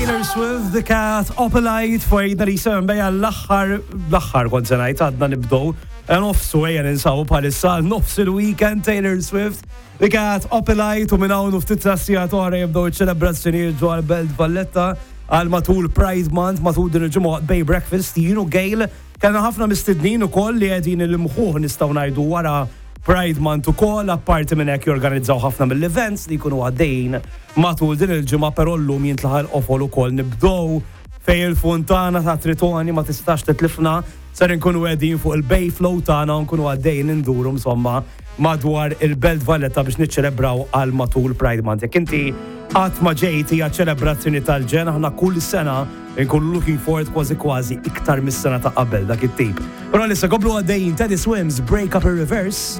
Taylor Swift, The Cat, Opalite, fajna li sem bejja l-axħar, l-axħar kont se ngħid għadna nibdow, nofsu ejja ninsabu bħalissa nofs il-weekend Taylor Swift, The Cat, Opalite u minn hawn u ftit sigħat oħra jibdew iċ-ċelebrazzjonijiet ġo Belt Valletta għal matul Pride Month, matul din il-ġimgħa Bay Breakfast, jien u Gail kellna ħafna mistednin ukoll li qegħdin il-mħuħ nistgħu ngħidu wara Pride Month ukoll, apparti minn hekk jorganizzaw ħafna mill-events li jkunu għaddejjin matul din il-ġimgħa, però llum jintlaħaq il-qofol ukoll nibdew fejn il-funtana ta' Tritoni ma tistax titlifna, ser inkunu qegħdin fuq il-Bay Flow tagħna u nkunu għaddejjin induru insomma madwar il-Belt Valletta biex niċċelebraw għal matul Pride Month. Jekk inti qatt ma ġejt hija ċelebrazzjoni tal-ġen, aħna kull sena nkunu looking forward kważi kważi iktar mis-sena ta' qabel dak it-tip. Però issa komplu għaddejjin Teddy Swims, Break Up in Reverse.